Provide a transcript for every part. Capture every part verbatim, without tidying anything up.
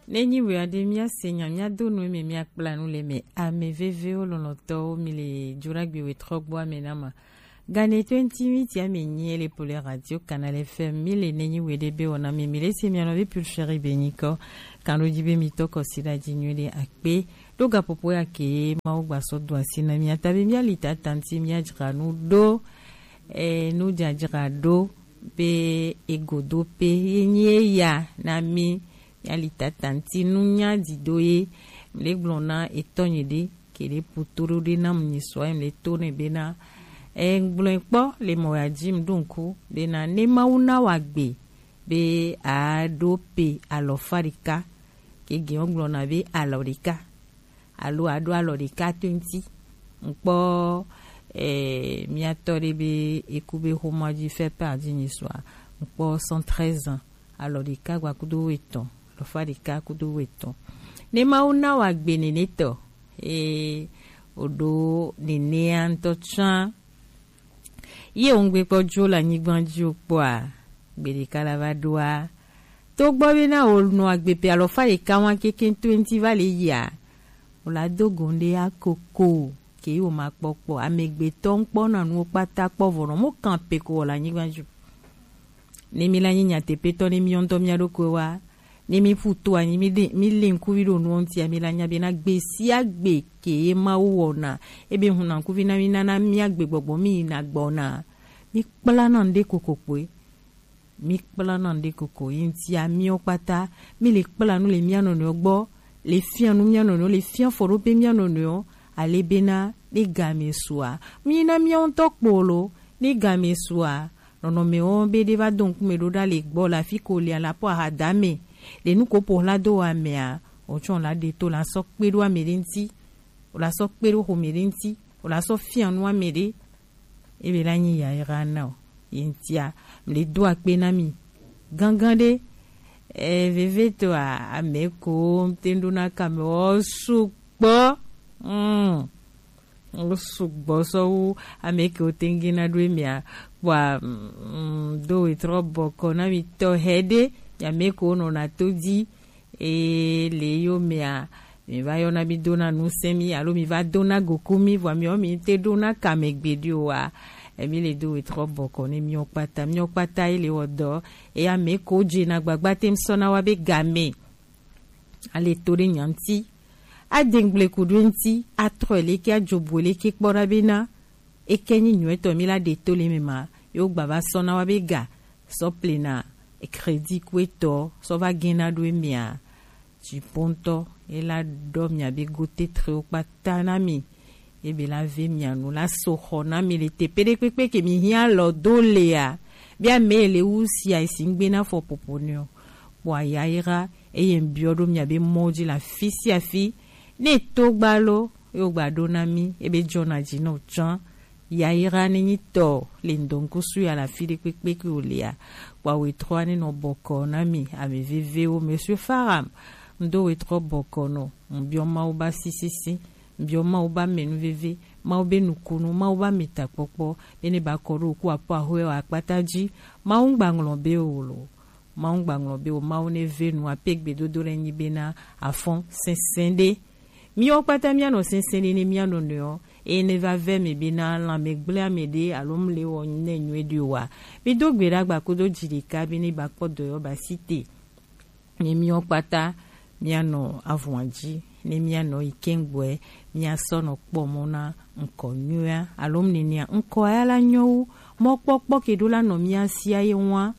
Nenyi wea ɖe míase nya míado nu eme míakpla nu le eme. Ame vevewo lɔlɔ̃tɔwo, mi le Juragbe wetrɔgboa me na ma. Gane twenty minutes ame nyi ele po le Radio Canal F M. Mi le nenyi we ɖe be wɔna mi, mi le se mia nɔvi Pulchérie be nyikɔ. Kan ɖo dzi be mi tɔ kɔsi ɖa dzi nyuie ɖe akpe. Ɖo gaƒoƒo ya ke Mawu gba sɔ do asi na mia ta be mia li tata ŋuti mia dzra nu ɖo. E, nu dzadzra ɖo be egodo pe ye nyi eya na mi. Mia li tata ŋuti nunya dido ye. Mi le gblɔ na etɔ nye ɖe ke ɖe puto ɖo ɖe na mu nyi sɔ ye mi le to ne be na. E, gblɔ kpɔ le mɔ ya dzi mi ɖo ŋku be na ne Mawu na wa gbe be a ɖo pe alɔfa ɖeka ke ge wo gblɔ na be alɔ ɖeka. Alo aɖo alɔ ɖeka to ŋuti. Ŋkpɔ, eh, miatɔ ɖe be eku be xoma dzi fait part dzi nyi sua. Ŋkpɔ cent treize ans, alɔ ɖeka gba kudo etɔn, alɔfa ɖeka kudo etɔn. Ne Mawu na wa gbe nene tɔ, eh, oɖo nenea ŋutɔ tsã. Ye wo ŋgbe kpɔ dzo le anyigba dzi o kpɔa, gbe ɖeka la va ɖoa. To gbɔ be na wo nɔ agbe pe alɔfa ɖeka wa keke to ŋuti va le yia. Wo la do go ŋɖe ya koko, ke yi wo ma kpɔ kpɔ. Amegbetɔ ŋkpɔ na nuwo kpata kpɔ vɔ nɔ mo kan pe ko wɔ le anyigba dzi o. Ne mi la nyi nyateƒetɔ ne mi ŋutɔ mia ɖokui wa, ne mi ƒu to anyi, mi ɖe, mi lé ŋkuvi ɖo nuwo ŋutia, mi la nya be na gbe sia gbe ke ye Mawu wɔna, ebe hun na ŋkuvi na mi nana mia gbe gbɔgbɔ mi yina gbɔna. Mi kpla na ŋɖe kokokpoe. Mi kpla na ŋɖe koko. Yi ŋutia miwo kpata, mi le kpla nu le mia nɔnɔewo gbɔ, le fia nu mia nɔnɔewo, le fia fɔɖope mia nɔnɔewo, ale bena ne game sua, mi na mia ŋutɔ kpolo, ne game sua, nɔnɔme wɔn be ɖe va do ŋkume ɖo ɖa le gbɔ le afi ko le ala po ahadame le nu ko po hla do wa mea, o tsɔ la ɖe to la sɔ kpe ɖo ame ɖe ŋuti, o la sɔ kpe ɖo xome ɖe ŋuti, o la sɔ fia nu ame ɖe, ebe la nyi yayra na o. Ye ŋutia, mle do akpe na mi gangan ɖe. E, veve to a, ame ko te ɖo na kame o sugbɔ. Mm. Wo sugbɔ sɔ wu ame kewo te ŋu gena ɖo emea. Kpɔa, mm, do wetrɔ bɔkɔ na mi tɔ hɛ ɖe, ame kewo nɔna to dzi, e, le yo mea, mi va yɔna mi dona nusẽ mi, alo mi va dona goku mi, vɔa mi wɔ mi te ɖona kame gbeɖe oa, e, mi le do wetrɔ bɔkɔ ne miwo kpata, miwo kpata ye le wɔ dɔ, e, ame kewo dze na gbagba te ŋu sɔ na wa be game. Ale to ɖe nya ŋuti, adengble ku ɖo ŋuti, atrɔ leke, adzobo leke kpɔ ɖa bena, eke nyi nyuietɔ mi la ɖe to le eme ma, ye wo gba va sɔ na wa be ga, sɔ plena, crédit ku etɔ, sɔ va gena ɖo emea, dziƒo ŋutɔ, ye la ɖɔ mia be go tetre wo kpata na mi. Ebe la ve mia nu la so xɔ na mi le teƒe ɖe kpekpe ke mi hiã lɔ do lea. Bia me le wu sia si ŋgbe na fɔ popo ne o. Kpɔ ayayra eye ŋbiɔ ɖo mia be mɔ dzi le afi sia afi. Ne to gba lo, ye wogba ɖo na mi, ebe dzɔna dzi na o tsã. Yayra ne nyi tɔ le ŋdɔŋkusu ya le afi ɖe kpekpe ke o lea. Kpɔ awe trɔ ne nɔ bɔkɔ na mi, ame vevewo, Monsieur Faram, ŋdo we trɔ bɔkɔ nɔ, ŋbiɔ Mawu ba sisisi. Biɔ Mawu ba mɛ nu veve, Mawu be nukunu, Mawu ba mɛ takpɔkpɔ, be ne ba kɔ ɖo ku apo ahwe wa akpata dzi. Mawu ŋgba ŋlɔ be o lo. Mawu ŋgba ŋlɔ be o. Mawu ne ve nu ape gbedodo le nyi be na afɔn sɛnsɛn ɖe. Miwo kpata mia nɔ sɛnsɛn ɖe ne mia nɔ nɔewo. Eye ne va ve mɛ be na lanmɛ gblẽ ame ɖe alo mle wɔ ne nyuie ɖe o wa. Mi do gbe ɖa gba kudo dzi ɖeka be ne ba kpɔ dɔyɔ ba si te. Ne miwo kpata mianɔ avɔa dzi, ne mianɔ yi kɛŋgbɔɛ, miasɔ nɔ kpɔ mɔ na ŋkɔ nyuia, alo nenea ŋkɔ ya la nyɔ wu mɔkpɔkpɔ ke ɖo la nɔ mia sia ye ŋua.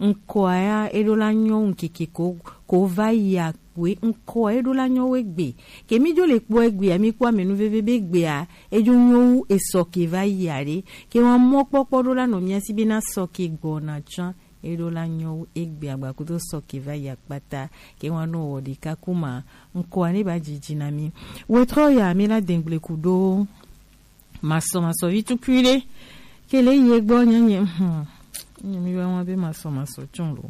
Ŋkɔ ya eɖo la nyɔ wu ŋkeke ko, ko va yi akpoe, ŋkɔ eɖo la nyɔ wu egbe. Ke mi dzo le kpɔ egbea, mi kpɔ ame nu veve be egbea edzo nyɔ wu esɔ ke va yi aɖe. Ke wa mɔkpɔkpɔ ɖo la nɔ mia si be na sɔ ke gbɔna tsã. Eɖo la nyɔ wu egbe agbakudo sɔ ke va yi akpata ke wa nɔ wɔ ɖeka kuma ŋkɔa ne ba dzidzi na mi. Wetrɔ ya mi la dengble ku ɖo masɔ masɔ vi tukui ɖe ke le yi egbɔ nye nye hmm. Nye mi wa wa be masɔ masɔ tsɔn lo.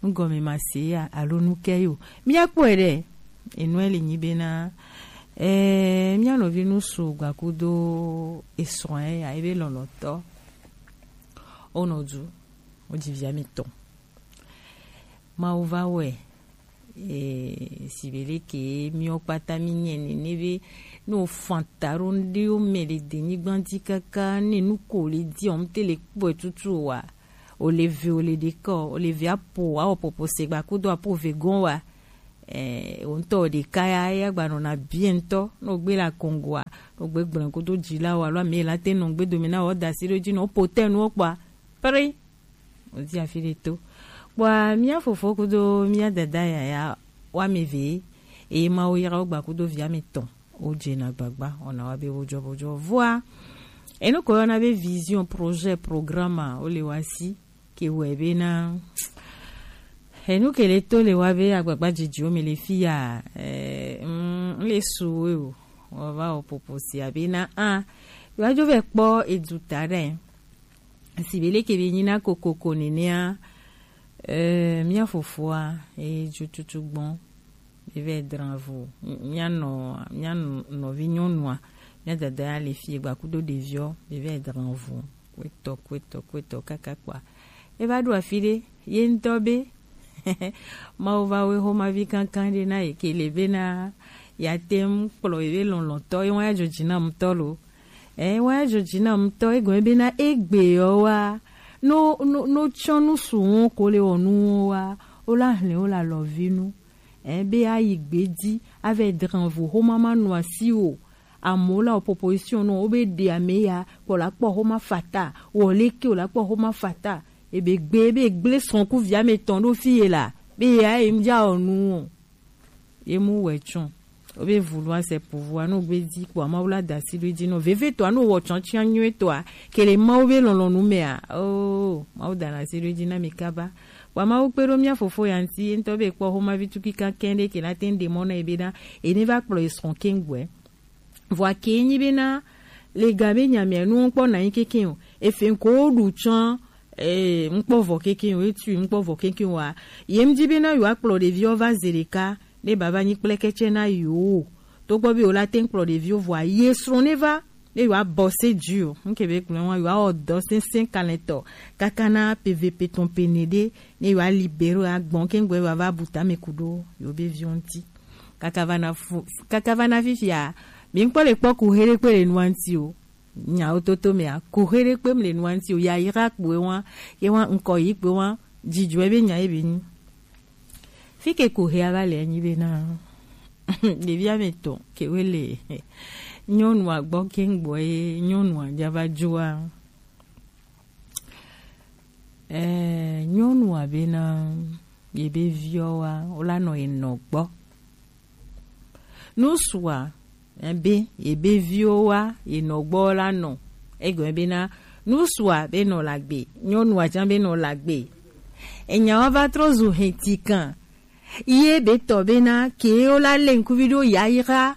Nugɔme ma se ya alo nu ke yo. Mi akpɔe ɖe. Enue le nyi be na eh mia nɔvi nu su gbakudo esrɔ̃ ya ebe lɔlɔtɔ. Onɔ du. Wodzi via mi tɔn. Mawu va wɔe Eh, si be leke miwo kpata mi nyɛ nene be, ne wo fan ta ɖo ŋɖewo mɛ le denyigba ji kaka, ne nu ko le di ɔ, ŋte le kpɔɛ tutu wa. O le ve, o le ɖekɔ, o le ve apo, awɔ popo se gba kudo apo ve gɔn wa. Eh, o ŋtɔ o ɖeka ya, eya gba nɔna bien ŋtɔ, ne o gbe la kongo a, ne o gbe gblẽ kudo ji la wa, alo ame la te nɔ gbe dome na wa, o da si ɖo ji nɔ, o po tɛ nu o kpɔa. Pri. Wòdi afi ɖe to. Kpɔa mía fofo kudo mía dada yaya woame eve, eye Mawu yra wo gba kudo vi ame etɔ̃. Wodze na gbagba, wɔna wa be wojɔ bojɔ. Vɔa, enu ko yɔna be vision, projet, programme a, wole wa si, ke wɔe bena, enu ke le to le wa be agbagba dzidziwo me le fi ya, eh, mm, le su wo o. Wɔva wɔ popo sia bena, a, yewoadzo vɛ kpɔ edu ta ɖe. Si be leke be nyi na kokoko nenea, eh, mía fofoa, eh, dzotutu gbɔn, be vɛ dran vo, mía nɔ, mía nɔ-, nɔvi nyɔnua, mía dada ya le fie gba kudo ɖeviɔ, be vɛ dran vo, kwetɔ, kwetɔ, kwetɔ, kaka kpɔa. E va ɖo afi ɖe, ye ŋutɔ be, Mawu va wɛ xomavi kankan ɖe na ye ke le bena, ya te ŋu kplɔ ye be lɔlɔ̃tɔ, ye wa ya dzɔ dzi na ŋutɔ lo. Ɛ, wa ya dzɔ dzi na ŋutɔ, egɔme bena egbe yɔ wa, no, no, no tsɔ nu su wo ko le wɔ nu wo wa, wo la hlẽ wo la lɔvi nu. Ɛ, be ayi gbe ji, avɛ dran vo xoma ma nɔ asi o. Amewo la wɔ proposition nɔ, wo be ɖe ame ya, kpɔ la kpɔ xoma fata, wɔ leke o la kpɔ xoma fata. Ebe gbe, ebe gble srɔ̃kuvi ame etɔ̃ ɖo fi ye la, be ya ye ŋdza wɔ nu o. Ye mu wɛ tsɔn. Obe vulu ase pouvoir no gbe di kpɔ Mawu la da asi ɖo edzi nɔ. Veve tɔa no wɔ tsɔn tsia nyuie tɔa. Kele Mawu be lɔlɔ̃nu mea. Oh, Mawu da na asi ɖo edzi na mi kaba. Wa Mawu kpe ɖo mía fofo ya ŋuti, ye ŋutɔ be kpɔ xomavi tukui kakɛn ɖe ke na te ŋu ɖe mɔ na ye be na, ye ne va kplɔ ye srɔ̃ keŋ gbɔe. Vɔa ke nyi bena, le ga be nya mea, nu ŋkpɔ na nyi keke o. Efe ŋko ɖu tsã, eh, ŋkpɔ vɔ keke o, etu ŋkpɔ vɔ keke o a. Ye ŋdi bena yewoa kplɔ ɖeviwo va ze ɖeka, ne baba nyi kpleketsɛ na yewo o. Togbɔ be yewo la te ŋu kplɔ ɖeviwo vɔa, ye srɔ̃ ne va, ne yewoa bɔse dzi o. Ŋke be gblɔ wa, yewoa wɔ dɔ sɛnsɛn kalɛtɔ, kaka na peve petɔn pene ɖe, ne yewoa libere agbɔn ke ŋgbɛ yewoa va bu tame ku ɖo yewo be viwo ŋuti. Kaka va na fu-, kaka va na fifia, mi ŋkpɔ le kpɔ kuxe ɖekpe le nua ŋuti o. Nyawo toto mea, kuxe ɖekpe mi le nua ŋuti o. Yayra kpoe wa, ye wa ŋkɔ yi kpoe wa, dzidzɔe be nya ye be nyi. Fi ke kuxea va le nyi be na, ɖevi ame etɔ̃ ke we le nyɔnua gbɔ ke ŋgbɔ ye nyɔnua dza va dzoa. Ɛɛ, nyɔnua bena, ye be viɔ wa, wo la nɔ ye nɔ gbɔ. Nusua, ɛ, be, ye be viwo wa, ye nɔ gbɔ la nɔ. Egɔme bena, nusua be nɔ la gbe, nyɔnua tsã be nɔ la gbe. Enya wa va trɔ zu hɛntikan. Ye be tɔ bena, ke wo la le ŋkuvi ɖo yayra,